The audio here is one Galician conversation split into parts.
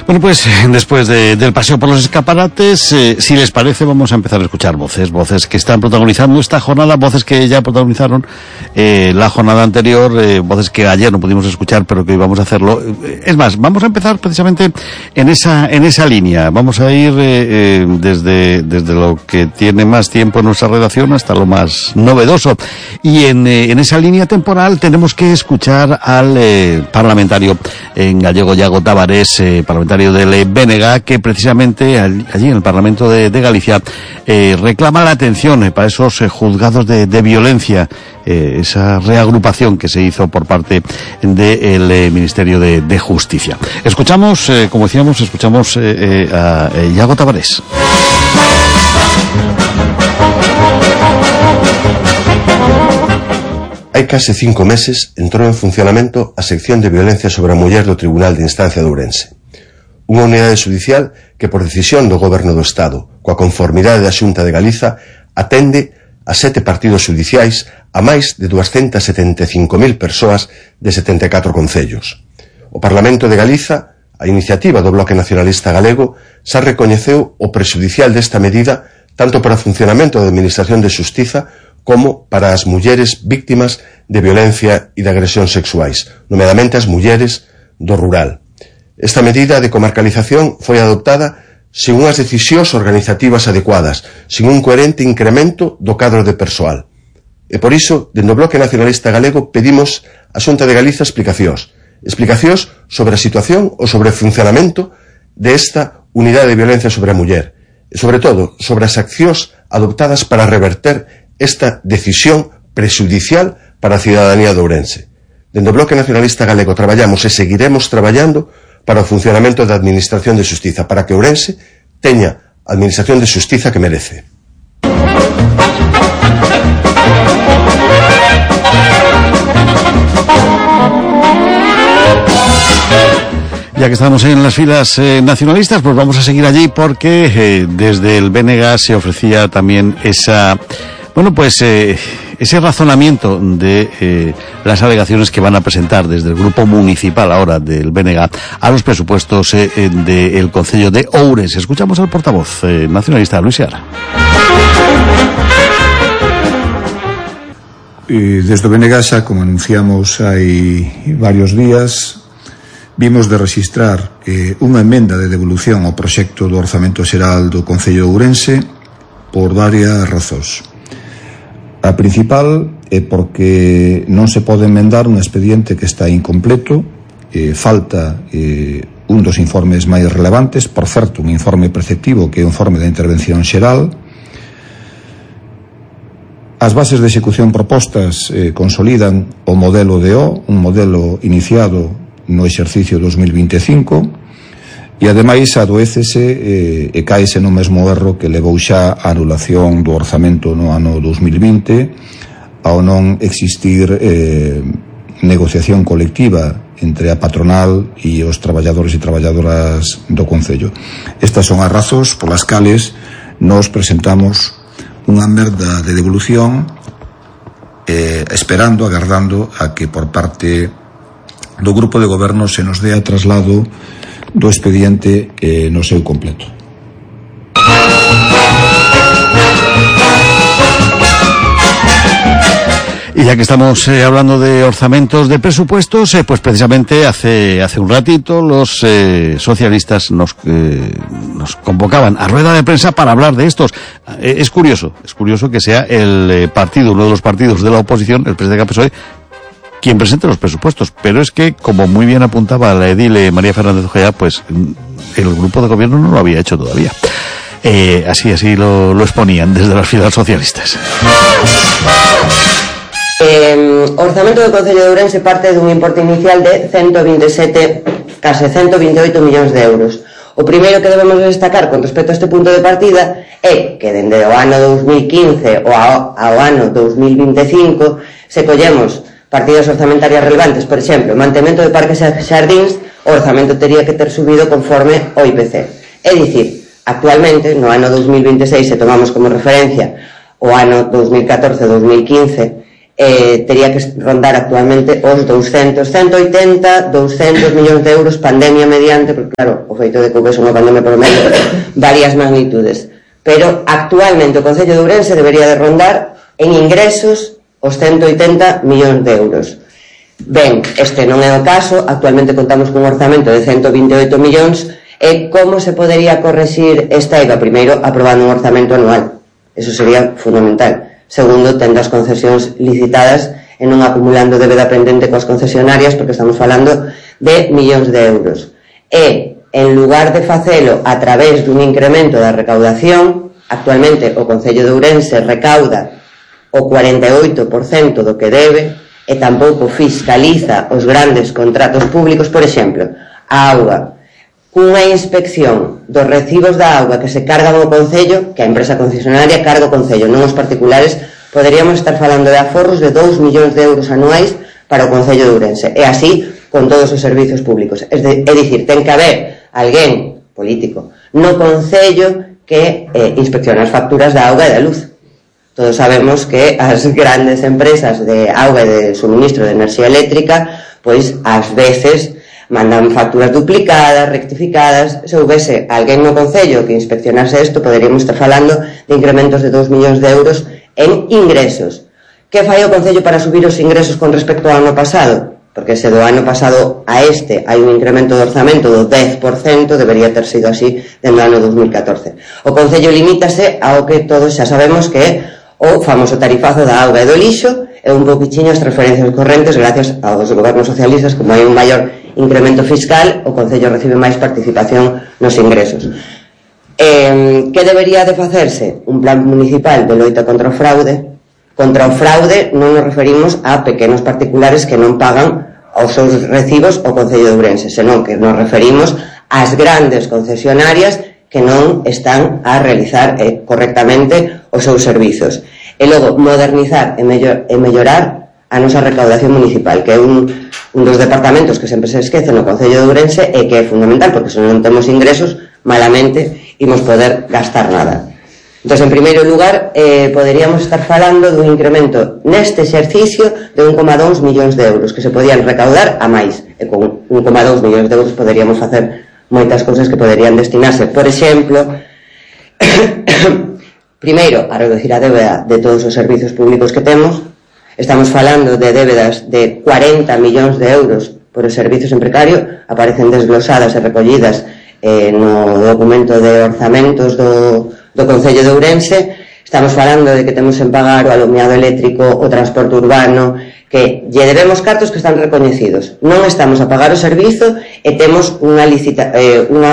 Bueno, pues después del paseo por los escaparates, si les parece, vamos a empezar a escuchar voces que están protagonizando esta jornada, voces que ya protagonizaron la jornada anterior, voces que ayer no pudimos escuchar, pero que hoy vamos a hacerlo. Es más, vamos a empezar precisamente en esa línea. Vamos a ir desde lo que tiene más tiempo en nuestra redacción hasta lo más novedoso. Y en esa línea temporal tenemos que escuchar al parlamentario en gallego, Iago Tavares, parlamentario del BNG, que precisamente allí en el Parlamento de Galicia reclama la atención para esos juzgados de violencia, esa reagrupación que se hizo por parte del Ministerio de Justicia. Escuchamos, como decíamos, a Iago Tavares. Hai case 5 meses entrou en funcionamento a sección de violencia sobre a muller do Tribunal de Instancia de Ourense. Unha unidade judicial que, por decisión do Goberno do Estado, coa conformidade da Xunta de Galiza, atende a 7 partidos judiciais a máis de 275.000 persoas de 74 concellos. O Parlamento de Galiza, a iniciativa do Bloque Nacionalista Galego, xa recoñeceu o prexudicial desta medida tanto para o funcionamento da Administración de Xustiza como para as mulleres víctimas de violencia e de agresión sexuais, nomeadamente as mulleres do rural. Esta medida de comarcalización foi adoptada sen unhas decisións organizativas adecuadas, sen un coherente incremento do cadro de persoal. E por iso, dende o Bloque Nacionalista Galego, pedimos á Xunta de Galiza explicacións sobre a situación ou sobre o funcionamento desta unidade de violencia sobre a muller, e sobre todo, sobre as accións adoptadas para reverter esta decisión prexudicial para a cidadanía de Ourense. Dende o Bloque Nacionalista Galego traballamos e seguiremos traballando para o funcionamento da Administración de Xustiza, para que Ourense teña a Administración de Xustiza que merece. Ya que estamos en las filas nacionalistas, pues vamos a seguir allí porque desde el BNG se ofrecía también ese razonamiento de las alegaciones que van a presentar desde el grupo municipal ahora del BNG a los presupuestos del concello de Ourense. Escuchamos al portavoz nacionalista, Luis Seara. Desde o BNG, xa, como anunciamos hai varios días, vimos de rexistrar unha emenda de devolución ao proxecto do Orzamento Xeral do Concello de Ourense por varias razóns. A principal é porque non se pode emendar un expediente que está incompleto, falta un dos informes máis relevantes, por certo, un informe preceptivo que é o informe da intervención xeral. As bases de execución propostas consolidan o modelo DO, un modelo iniciado no exercicio 2025, e ademais adoécese e caese no mesmo erro que levou xa a anulación do orzamento no ano 2020 ao non existir negociación colectiva entre a patronal e os traballadores e traballadoras do Concello. Estas son as razóns polas cales nos presentamos unha merda de devolución agardando a que por parte do grupo de goberno se nos dea traslado do expediente no seu completo. Y ya que estamos hablando de orzamentos de presupuestos, pues precisamente hace un ratito los socialistas nos convocaban a rueda de prensa para hablar de estos. Es curioso que sea el partido, uno de los partidos de la oposición, el PSOE, quien presente los presupuestos, pero es que, como muy bien apuntaba la edile María Fernández Ojea, pues el grupo de gobierno no lo había hecho todavía. Así lo exponían desde las filas socialistas. O orzamento do Concello de Ourense parte dun importe inicial de case 128 millóns de euros. O primeiro que debemos destacar con respecto a este punto de partida é que dende o ano 2015 ao ano 2025 se collemos partidas orzamentarias relevantes, por exemplo, o mantemento de parques e xardíns, o orzamento tería que ter subido conforme o IPC. É dicir, actualmente, no ano 2026, se tomamos como referencia o ano 2014-2015, tería que rondar actualmente os 200, 180, 200 millóns de euros, pandemia mediante, porque claro, o feito de que houvese unha pandemia por medio, varias magnitudes. Pero actualmente o Concello de Ourense debería de rondar en ingresos os 180 millóns de euros. Ben, este non é o caso, actualmente contamos cun orzamento de 128 millóns, e como se podería correxir esta IVA? Primeiro, aprobando un orzamento anual, eso sería fundamental. Segundo, tendo as concesións licitadas e non acumulando débeda pendente coas concesionarias, porque estamos falando de millóns de euros. E, en lugar de facelo a través dun incremento da recaudación, actualmente o Concello de Ourense recauda o 48% do que debe e tampouco fiscaliza os grandes contratos públicos. Por exemplo, a auga, cunha inspección dos recibos da auga que se cargan ao Concello, que a empresa concesionaria carga o Concello, non os particulares, poderíamos estar falando de aforros de 2 millóns de euros anuais para o Concello de Ourense, e así con todos os servizos públicos. É dicir, ten que haber alguén político no Concello que inspecciona as facturas da auga e da luz. Todos sabemos que as grandes empresas de auga e de suministro de enerxía eléctrica, pois ás veces mandan facturas duplicadas, rectificadas. Se houvese alguén no Concello que inspeccionase isto, poderíamos estar falando de incrementos de 2 millóns de euros en ingresos. Que fai o Concello para subir os ingresos con respecto ao ano pasado? Porque se do ano pasado a este hai un incremento de orzamento do 10%, debería ter sido así dentro do ano 2014. O Concello limítase ao que todos xa sabemos que é o famoso tarifazo da auga e do lixo, e un pouquichiño as transferencias correntes. Gracias aos gobernos socialistas, como hai un maior incremento fiscal, o Concello recibe máis participación nos ingresos. Que debería de facerse? Un plan municipal de loita contra o fraude. Contra o fraude non nos referimos a pequenos particulares que non pagan os seus recibos ao Concello de Ourense, senón que nos referimos ás grandes concesionarias que non están a realizar correctamente os seus servizos. E logo, modernizar e mellorar a nosa recaudación municipal, que é un dos departamentos que sempre se esquece no Concello de Ourense e que é fundamental, porque se non temos ingresos, malamente imos poder gastar nada. Entón, en primeiro lugar, poderíamos estar falando dun incremento neste exercicio de 1,2 millóns de euros que se podían recaudar a máis, e con 1,2 millóns de euros poderíamos facer moitas cousas que poderían destinarse. Por exemplo, primeiro, a reducir a débeda de todos os servizos públicos que temos. Estamos falando de débedas de 40 millóns de euros por os servizos en precario, aparecen desglosadas e recollidas no documento de orzamentos do Concello de Ourense. Estamos falando de que temos en pagar o alumiado eléctrico, o transporte urbano, que lle debemos cartos que están recoñecidos. Non estamos a pagar o servizo e temos unha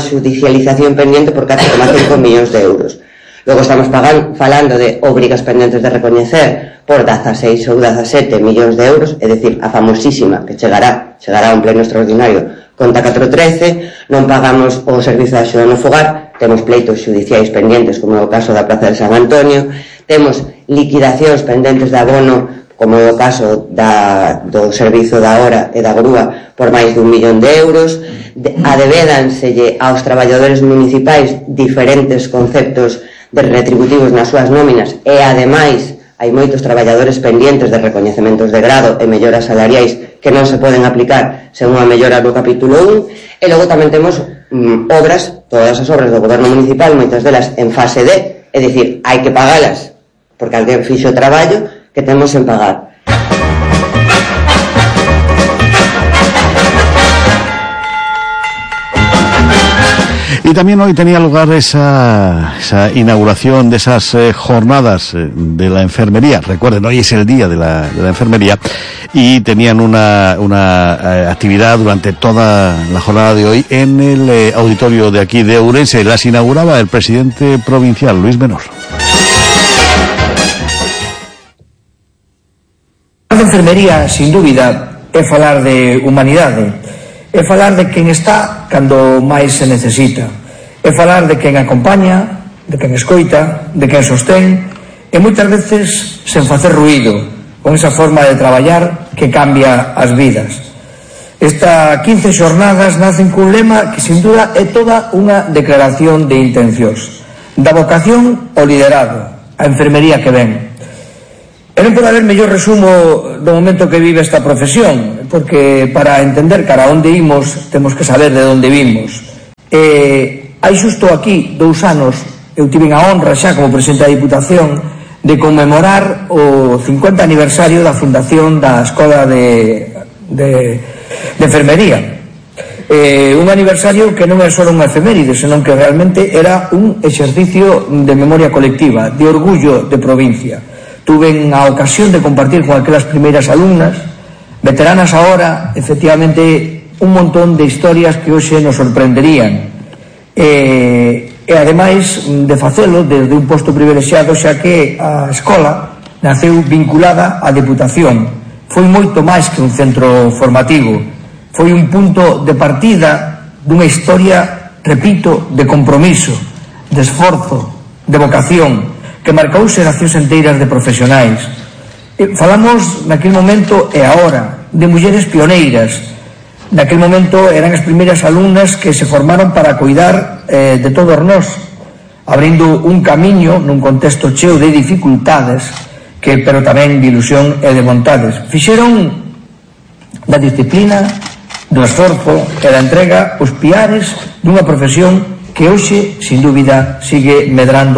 xudicialización pendiente por 4,5 millóns de euros. Logo estamos falando de obrigas pendentes de recoñecer por 16 ou 17 millóns de euros, é dicir, a famosísima que chegará a un pleno extraordinario conta 413. Non pagamos o servizo de axuda no fogar, temos pleitos xudiciais pendentes, como é o caso da Praza de San Antonio, temos liquidacións pendentes de abono, como é o caso do servizo da hora e da grúa, por máis de 1 millón de euros. Adevédanselle aos traballadores municipais diferentes conceptos de retributivos nas súas nóminas, e ademais hai moitos traballadores pendientes de recoñecementos de grado e melloras salariais que non se poden aplicar sen unha mellora no capítulo 1. E logo tamén temos obras, todas as obras do goberno municipal, moitas delas en fase D, é dicir, hai que pagalas porque alguén fixo o traballo que temos en pagar. Y también hoy tenía lugar esa inauguración de esas jornadas de la enfermería. Recuerden, hoy es el día de la enfermería y tenían una actividad durante toda la jornada de hoy en el auditorio de aquí de Ourense. Las inauguraba el presidente provincial, Luis Menor. A enfermería, sin dúbida, é falar de humanidade, é falar de quen está cando máis se necesita, é falar de quen acompaña, de quen escoita, de quen sostén, e moitas veces sen facer ruído, con esa forma de traballar que cambia as vidas. Esta 15 xornadas nacen cun lema que sin duda é toda unha declaración de intencións, da vocación ao liderado, a enfermería que ven. E non pode haber mellor resumo do momento que vive esta profesión, porque para entender cara onde imos temos que saber de onde vimos. Hai xusto aquí 2 anos eu tive a honra xa como presidente da Diputación de conmemorar o 50 aniversario da fundación da Escola de Enfermería. Un aniversario que non é só unha efeméride, senón que realmente era un exercicio de memoria colectiva, de orgullo de provincia. Tuve a ocasión de compartir con aquelas primeiras alumnas, veteranas ahora, efectivamente, un montón de historias que hoxe nos sorprenderían. E ademais de facelo desde un posto privilexiado, xa que a escola naceu vinculada á Deputación. Foi moito máis que un centro formativo. Foi un punto de partida dunha historia, repito, de compromiso, de esforzo, de vocación, que marcou xeracións enteiras de profesionais. Falamos naquele momento e agora de mulleres pioneiras. Naquele momento eran as primeiras alumnas que se formaron para cuidar de todos nós, abrindo un camiño nun contexto cheo de dificultades, pero tamén de ilusión e de vontades. Fixeron da disciplina, do esforzo e da entrega os piares dunha profesión que hoxe, sin dúbida, sigue medrando